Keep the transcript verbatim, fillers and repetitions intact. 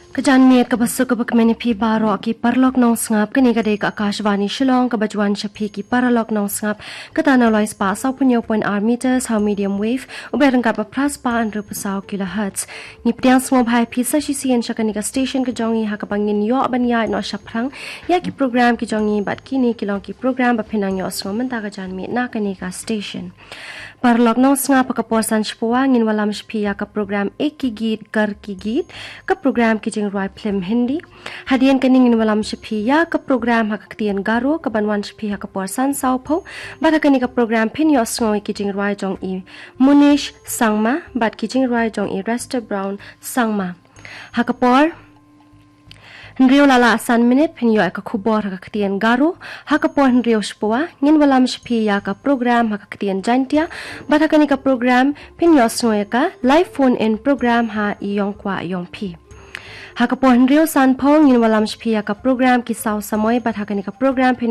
Ka janmiet kaba suk kaba kmen ïa phi baroh ki paralok nongsngap, kane ka dei ka Akashvani Shillong kaba ju wan sha phi ki paralok nongsngap, kata na u lai spah saw phew hynñiew point ar meters ha u medium wave, u beit ryngkat bad phra spah hynriew phew saw kilohertz. Ngi pdiang sngewbha ïa phi sa shisien sha kane ka station ka jong ngi ha kaba ngin ïoh ban ïaid noh shaphrang ïa ki program ki jong ngi bad kine ki long ki program ba phin nang ïohsngew mynta ka janmiet na kane ka station. Paralok nongsngap, ha ka por san shiphew ngin wallam sha phi ïa ka program Ek Hi Geet Kar Hi Geet, ka program ki jingrwai phlim Hindi. Hadien kane ngin wallam sha phi ïa ka program ha ka ktien Garo kaban wan sha phi ha ka por san saw phew. Bad ha kane ka program phin ïohsngew ïa ki jingrwai jong i Munish Sangma bad ki jingrwai jong i Rester Brown Sangma. Ha ka por hynriew la lah san minit phin ïoh ïa ka khubor ha ka ktien Garo. Ha ka por hynriew shiphew ngin wallam sha phi ïa ka program ha ka ktien Jaintia. Bad ha kane ka program phin ïohsngew ïa ka live phone in program ha i Ïong Kwah Ïong Phi. Ha ka por hynriew san phew ngin wallam sha phi ïa ka program Ki Saw Samoi, bad ha kane ka program phin